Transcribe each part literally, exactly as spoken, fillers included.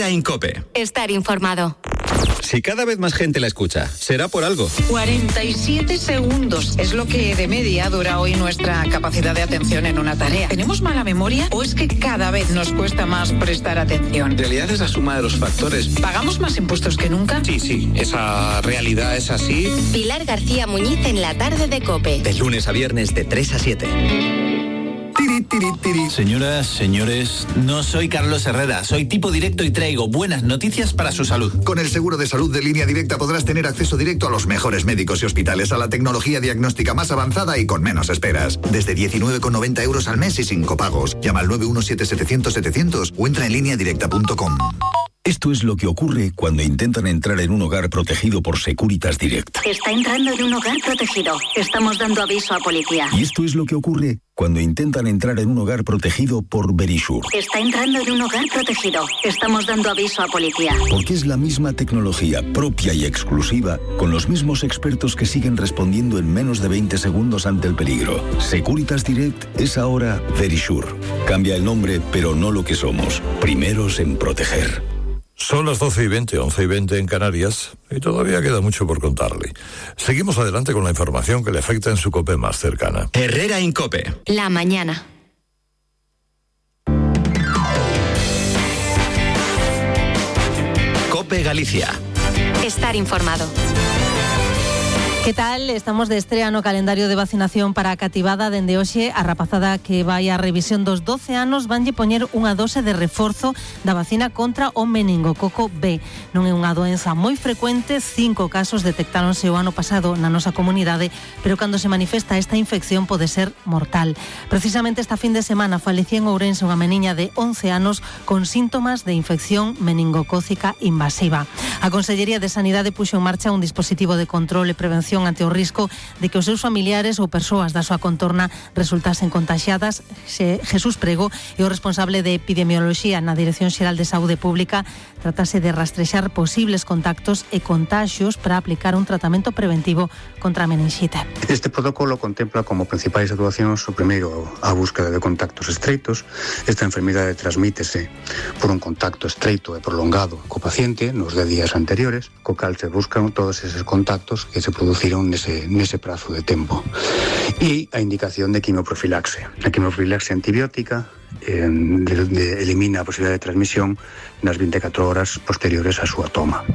Herrera en COPE. Estar informado. Si cada vez más gente la escucha, será por algo. cuarenta y siete segundos es lo que de media dura hoy nuestra capacidad de atención en una tarea. ¿Tenemos mala memoria o es que cada vez nos cuesta más prestar atención? En realidad es la suma de los factores. ¿Pagamos más impuestos que nunca? Sí, sí, esa realidad es así. Pilar García Muñiz en la tarde de COPE. De lunes a viernes de tres a siete. Tiri, tiri, tiri. Señoras, señores, no soy Carlos Herrera, soy tipo directo y traigo buenas noticias para su salud. Con el seguro de salud de Línea Directa podrás tener acceso directo a los mejores médicos y hospitales, a la tecnología diagnóstica más avanzada y con menos esperas. Desde diecinueve con noventa euros al mes y sin copagos. Llama al nueve uno siete setecientos setecientos o entra en línea directa punto com. Esto es lo que ocurre cuando intentan entrar en un hogar protegido por Securitas Direct. Está entrando en un hogar protegido. Estamos dando aviso a policía. Y esto es lo que ocurre cuando intentan entrar en un hogar protegido por Verisure. Está entrando en un hogar protegido. Estamos dando aviso a policía. Porque es la misma tecnología propia y exclusiva, con los mismos expertos que siguen respondiendo en menos de veinte segundos ante el peligro. Securitas Direct es ahora Verisure. Cambia el nombre, pero no lo que somos. Primeros en proteger. Son las doce y veinte, once y veinte en Canarias, y todavía queda mucho por contarle. Seguimos adelante con la información que le afecta en su COPE más cercana. Herrera en COPE. La mañana. COPE Galicia. Estar informado. Que tal? Estamos de estrea no calendario de vacinación para a cativada dende hoxe. A rapazada que vai a revisión dos doce anos vanlle poñer unha dose de reforzo da vacina contra o meningococo B. Non é unha doenza moi frecuente, cinco casos detectáronse o ano pasado na nosa comunidade, pero cando se manifesta esta infección pode ser mortal. Precisamente esta fin de semana falecía en Ourense unha meniña de once anos con síntomas de infección meningocócica invasiva. A Consellería de Sanidade puxo en marcha un dispositivo de control e prevención ante o risco de que os seus familiares ou persoas da súa contorna resultasen contaxiadas. Jesús Prego é o responsable de epidemioloxía na Dirección Xeral de Saúde Pública. Tratase de rastrexar posibles contactos e contaxios para aplicar un tratamento preventivo contra a meningite. Este protocolo contempla como principais actuacións o primeiro a búsqueda de contactos estreitos. Esta enfermidade transmítese por un contacto estreito e prolongado co paciente nos dez días anteriores, co cal se buscan todos eses contactos que se produciron nese, nese prazo de tempo. E a indicación de quimioprofilaxe. A quimioprofilaxe antibiótica eh, de, de, elimina a posibilidade de transmisión nas vinte e catro horas posteriores á súa toma.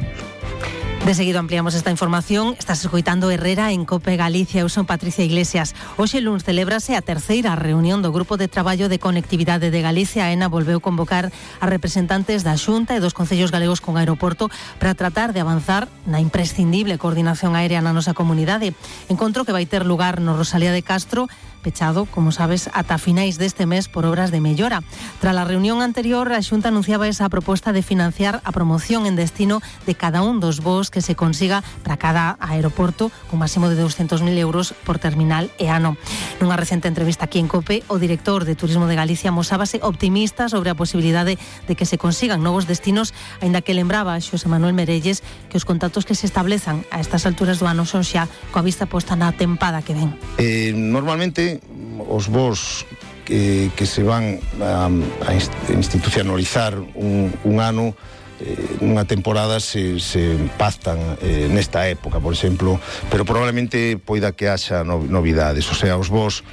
De seguido ampliamos esta información. Estás escoitando Herrera en COPE Galicia. Eu son Patricia Iglesias. Hoxe luns celébrase a terceira reunión do Grupo de Traballo de Conectividade de Galicia. A ENA volveu convocar a representantes da Xunta e dos concellos galegos con aeroporto para tratar de avanzar na imprescindible coordinación aérea na nosa comunidade. Encontro que vai ter lugar no Rosalía de Castro, pechado, como sabes, ata finais deste mes por obras de mellora. Tras a reunión anterior, a Xunta anunciaba esa proposta de financiar a promoción en destino de cada un dos voos que se consiga para cada aeroporto, con máximo de doscientos mil euros por terminal e ano. Nunha recente entrevista aquí en COPE, o director de Turismo de Galicia mosábase optimista sobre a posibilidade de que se consigan novos destinos, aínda que lembraba a Xosé Manuel Merelles que os contactos que se establezan a estas alturas do ano son xa coa vista posta na tempada que ven. Eh, normalmente os voos que, que se van a, a institucionalizar un, un ano, eh, unha temporada se, se pactan eh, nesta época, por exemplo, pero probablemente poida que haxa no, novidades, o sea, os voos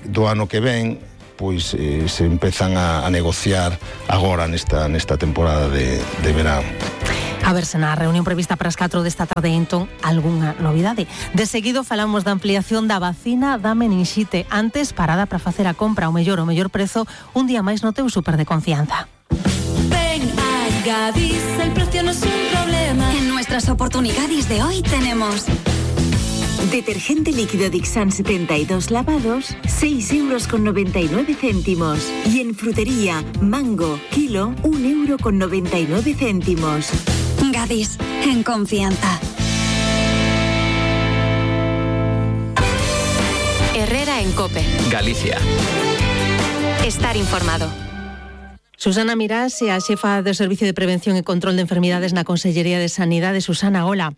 do ano que ven pois eh, se empezan a, a negociar agora nesta, nesta temporada de, de verán. A ver se na reunión prevista para as catro desta tarde entón algunha novidade. De seguido falamos da ampliación da vacina da meningite. Antes, parada para facer a compra ao mellor o mellor prezo un día máis no teu súper de confianza. Ven a Gadis, el precio no es un problema. En nuestras oportunidades de hoy tenemos detergente líquido Dixan setenta y dos lavados, seis euros con noventa y nueve céntimos. Y en frutería, mango, kilo, un euro con noventa y nueve céntimos. Gadis, en confianza. Herrera en COPE. Galicia. Estar informado. Susana Mirás é a xefa do Servicio de Prevención e Control de Enfermidades na Consellería de Sanidade. Susana, hola.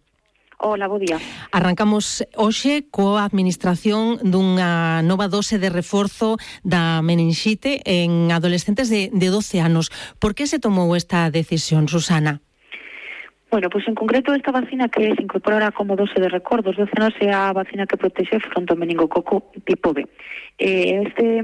Hola, bo día. Arrancamos hoxe coa administración dunha nova dose de reforzo da meninxite en adolescentes de, de doce anos. Por que se tomou esta decisión, Susana? Bueno, pois en concreto esta vacina que se incorporará como dose de recordos doce anos é a vacina que protexe fronte ao meningococo tipo B. Eh, este,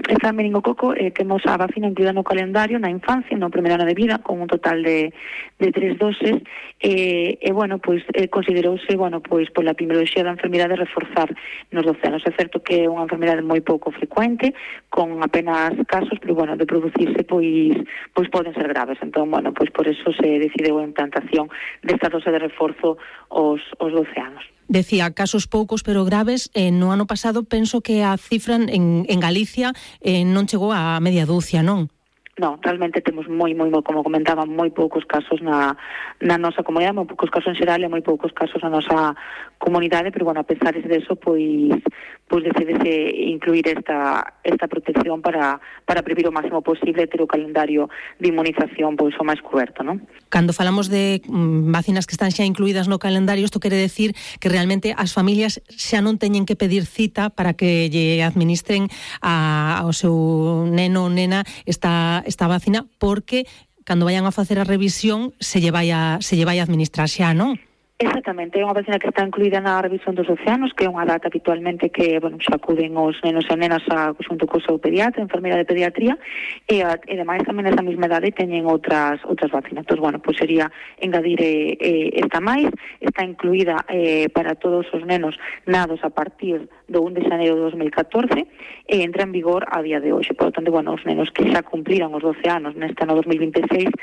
esta meningococo eh, temos a vacina incluída no calendario na infancia, no primeiro ano de vida, con un total de, de tres doses, e, eh, eh, bueno, pois eh, considerouse, bueno, pois pola epidemioloxía da enfermidade reforzar nos doce anos. É certo que é unha enfermidade moi pouco frecuente, con apenas casos, pero bueno, de producirse, pois, pois poden ser graves. Entón, bueno, pois por eso se decideu a implantación desta dose de reforzo aos, aos doce anos. Decía, casos poucos pero graves. Eh, no ano pasado penso que a cifra en, en Galicia eh, non chegou a media dúcia, non? No, realmente temos moi, moi, como comentaba, moi poucos casos na, na nosa comunidade, moi poucos casos en xeral e moi poucos casos na nosa comunidade, pero, bueno, a pesar de eso, pois, pois decidese incluir esta, esta protección para, para previr o máximo posible ter o calendario de inmunización pois o máis coberto, non? Cando falamos de mm, vacinas que están xa incluídas no calendario, isto quere decir que realmente as familias xa non teñen que pedir cita para que lle administren a, ao seu neno ou nena esta esta vacina, porque cando vayan a facer a revisión se lle vai a, se lle vai a administrar xa, non? Exactamente, é unha vacina que está incluída na revisión dos doce anos, que é unha data habitualmente que, bueno, xa acuden os nenos e nenas a, xunto co seu pediatra, enfermeira de pediatría, e, a, e demais tamén nesa mesma idade teñen outras outras vacinas. Entón, bueno, pois sería engadir eh, eh, esta máis, está incluída eh, para todos os nenos nados a partir do un de xaneiro de dos mil catorce e entra en vigor a día de hoxe. Por lo tanto, bueno, os nenos que xa cumpliran os doce anos neste ano dos mil vinte e seis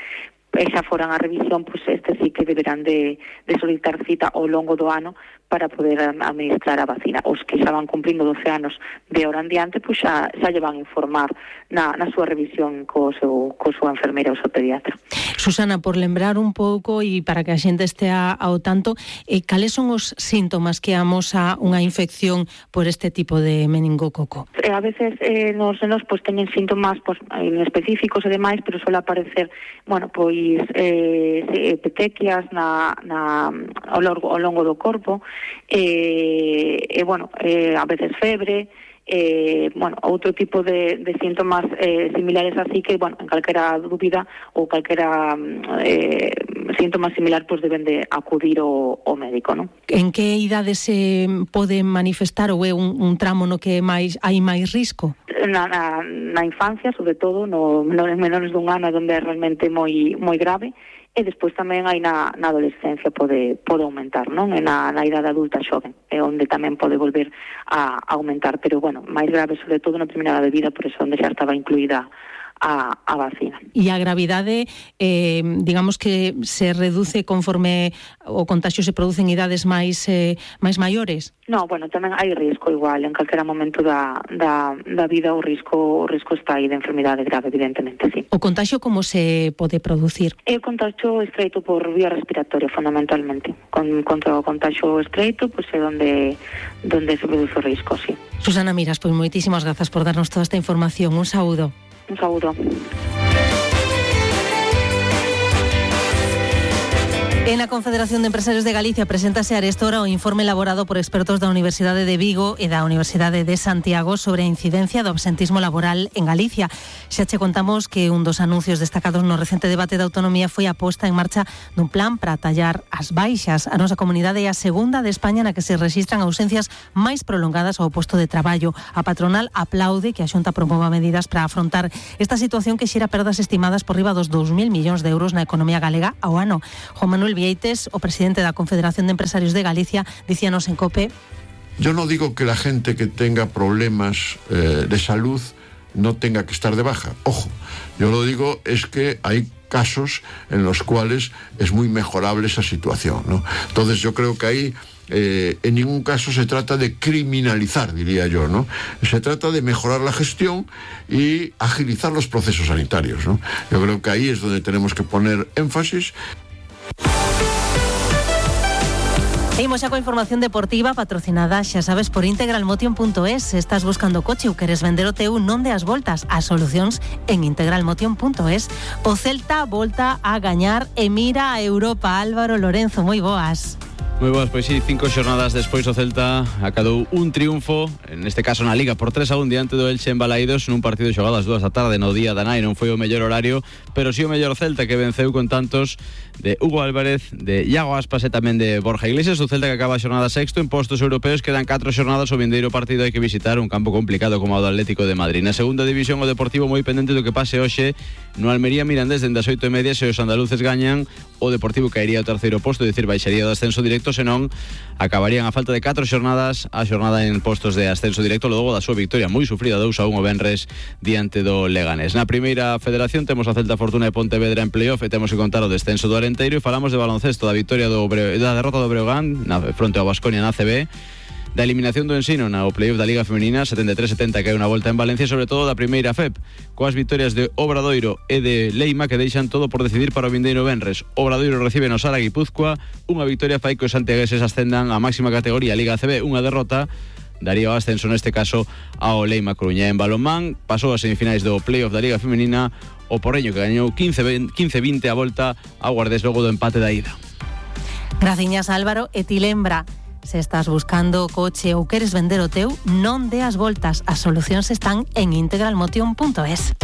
e xa foran a revisión, pois este sí que deberán de, de solicitar cita ao longo do ano para poder administrar a vacina. Os que xa van cumplindo doce anos de hora en diante, pois xa, xa lle van informar na, na súa revisión co seu, co súa enfermeira ou seu pediatra. Susana, por lembrar un pouco e para que a xente estea ao tanto, eh, cales son os síntomas que amosa unha infección por este tipo de meningococo? Eh, a veces eh, nos nenos pois, teñen síntomas pois, específicos e demais, pero suele aparecer, bueno, pois eh, petequias na, na, ao, longo, ao longo do corpo, e, e bueno, eh, a veces febre, eh, bueno, outro tipo de, de síntomas eh, similares así que, bueno, en calquera dúbida ou calquera eh, síntoma similar, pois deben de acudir ao, ao médico, non? En que idade se pode manifestar ou é un, un tramo no que máis hai máis risco? Na, na, na infancia, sobre todo, no menores, menores dun ano, onde é realmente moi moi grave, e despois tamén hai na, na adolescencia pode, pode aumentar, non? E na, na idade adulta xoven, é onde tamén pode volver a, a aumentar, pero, bueno, máis grave, sobre todo, na primeira de vida, por eso onde xa estaba incluída a, a vacina. E a gravidade, eh, digamos que se reduce conforme o contagio se produce en idades máis eh, máis maiores? No, bueno, tamén hai risco igual, en calquera momento da, da, da vida o risco o risco está aí de enfermidade grave, evidentemente, sí. O contagio como se pode producir? É o contagio estreito por vía respiratoria, fundamentalmente. Con, contra o contagio estreito, pois pues, é onde, donde se produce o risco, sí. Susana Miras, pois pues, moitísimas grazas por darnos toda esta información. Un saúdo. Un saúdo. En la Confederación de Empresarios de Galicia preséntase arestora o informe elaborado por expertos da Universidade de Vigo e da Universidade de Santiago sobre a incidencia do absentismo laboral en Galicia. Xa che contamos que un dos anuncios destacados no recente debate de autonomía foi a posta en marcha dun plan para tallar as baixas. A nosa comunidade é a segunda de España na que se rexistran ausencias máis prolongadas ao posto de traballo. A patronal aplaude que a Xunta promova medidas para afrontar esta situación que xera perdas estimadas por riba dos dous mil millóns de euros na economía galega ao ano. Juan Manuel Vieites, o presidente da Confederación de Empresarios de Galicia, dicíanos en COPE: yo no digo que la gente que tenga problemas eh, de salud no tenga que estar de baja. Ojo, yo lo digo es que hay casos en los cuales es muy mejorable esa situación, ¿no? Entonces yo creo que ahí eh, en ningún caso se trata de criminalizar, diría yo, ¿no? Se trata de mejorar la gestión y agilizar los procesos sanitarios, ¿no? Yo creo que ahí es donde tenemos que poner énfasis. Seguimos xa coa información deportiva patrocinada, xa sabes, por integralmotion punto es. Se estás buscando coche ou queres vender o teu, non deas voltas. As solucións en integralmotion punto es. O Celta volta a gañar e mira a Europa. Álvaro Lorenzo, moi boas. Moi boas, pois sí, cinco xornadas despois o Celta acadou un triunfo, en este caso na Liga, por tres a un diante do Elche en Balaídos, nun partido xogado ás dúas da tarde no día da nai. Non foi o mellor horario, pero sí o mellor Celta, que venceu con tantos de Hugo Álvarez, de Iago Aspas e tamén de Borja Iglesias. O Celta que acaba a xornada sexto en postos europeos, quedan catro xornadas. O vindeiro partido hai que visitar un campo complicado como o do Atlético de Madrid. Na segunda división o Deportivo moi pendente do que pase hoxe no Almería Mirandés dende as oito e media. Se os andaluces gañan, o Deportivo caería ao terceiro posto, é dicir, baixaría do ascenso directo, senón acabarían a falta de catro xornadas a xornada en postos de ascenso directo logo da súa victoria moi sufrida dous a un o venres diante do Leganés. Na primeira federación temos a Celta Fortuna e Pontevedra en playoff e temos que contar o descenso do Arenteiro, e falamos de baloncesto, da victoria do Bre... da derrota do Breogán na fronte ao Baskonia na A C B, da eliminación do Ensino na o playoff da Liga Femenina setenta e tres setenta que hai unha volta en Valencia, sobre todo da primeira F E P, coas vitorias de Obradoiro e de Leima que deixan todo por decidir para o vindeiro venres. Obradoiro recibe no Sara Guipúzcoa, unha victoria fai que os santiagueses ascendan á máxima categoría Liga A C B, unha derrota daría o ascenso neste caso ao Leima Coruña. En balonmán pasou as semifinais do playoff da Liga Femenina o Porreño, que gañou quince vinte a volta ao Guardés logo do empate da ida. Graciñas, Álvaro. E ti lembra, se estás buscando coche ou queres vender o teu, non deas voltas, as solucións están en integralmotion punto es.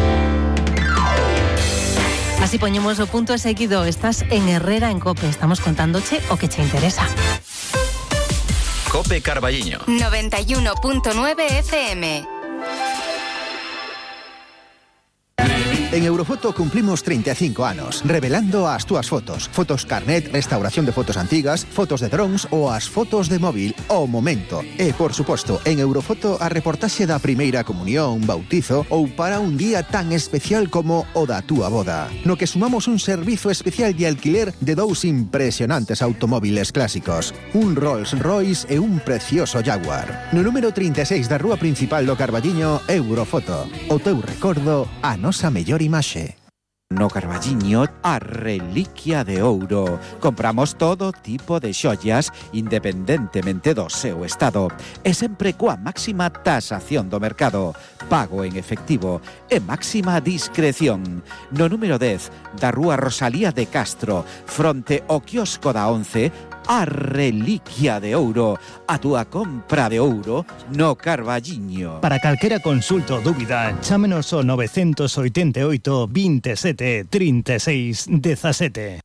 Así poñemos o punto seguido. Estás en Herrera en Cope, estamos contándoche o que che interesa. Cope Carballiño noventa y uno punto nueve F M. En Eurofoto cumplimos treinta e cinco anos, revelando as túas fotos. Fotos carnet, restauración de fotos antigas, fotos de drones ou as fotos de móvil ao momento. E, por suposto, en Eurofoto a reportaxe da primeira comunión, bautizo ou para un día tan especial como o da túa boda. No que sumamos un servizo especial de alquiler de dous impresionantes automóviles clásicos, un Rolls Royce e un precioso Jaguar. No número trinta e seis da rúa principal do Carballiño, Eurofoto. O teu recordo, a nosa mellor imaxe. No Carballiño, a reliquia de ouro. Compramos todo tipo de xollas independentemente do seu estado e sempre coa máxima tasación do mercado, pago en efectivo e máxima discreción. No número dez da rúa Rosalía de Castro, fronte ao quiosco da once, a reliquia de ouro, a túa compra de ouro no Carballiño. Para calquera consulta ou dúbida, chámenos ao nove oito oito, veintisiete, trinta e seis, dezasete.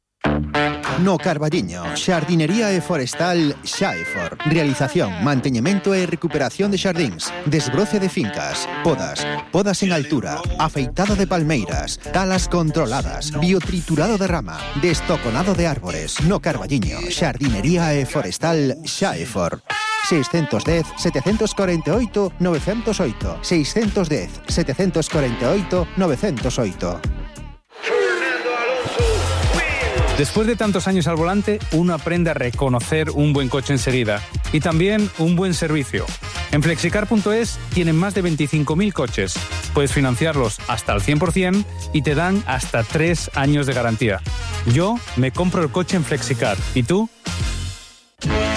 No Carballiño, xardinería e forestal Xaefor. Realización, manteñemento e recuperación de xardíns, desbroce de fincas, podas, podas en altura, afeitado de palmeiras, talas controladas, biotriturado de rama, destoconado de árbores. No Carballiño, xardinería e forestal Xaefor. seiscentos dez, setecientos cuarenta y ocho, novecientos ocho. seiscentos dez, setecientos cuarenta y ocho, novecientos ocho. Después de tantos años al volante, uno aprende a reconocer un buen coche enseguida y también un buen servicio. En flexicar punto es tienen más de veinticinco mil coches. Puedes financiarlos hasta al cien por ciento y te dan hasta tres años de garantía. Yo me compro el coche en Flexicar. ¿Y tú?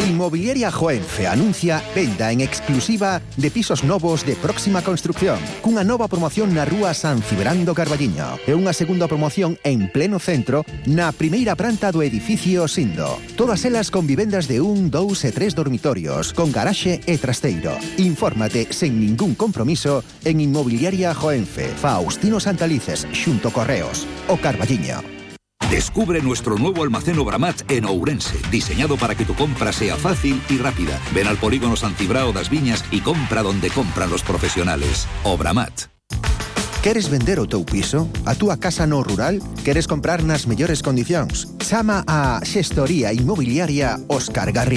Inmobiliaria Joenfe anuncia venda en exclusiva de pisos novos de próxima construcción, cunha nova promoción na rúa San Cibrán do Carballiño e unha segunda promoción en pleno centro na primeira planta do edificio Sindo. Todas elas con vivendas de un, dous e tres dormitorios, con garaxe e trasteiro. Infórmate sen ningún compromiso en Inmobiliaria Joenfe, Faustino Santalices, xunto Correos, o Carballiño. Descubre nuestro nuevo almacén Obramat en Ourense, diseñado para que tu compra sea fácil y rápida. Ven al polígono San Cibrao das Viñas y compra donde compran los profesionales. Obramat. Queres vender o teu piso? A túa casa no rural? Queres comprar nas mellores condicións? Chama a Xestoría Inmobiliaria Óscar Garrido.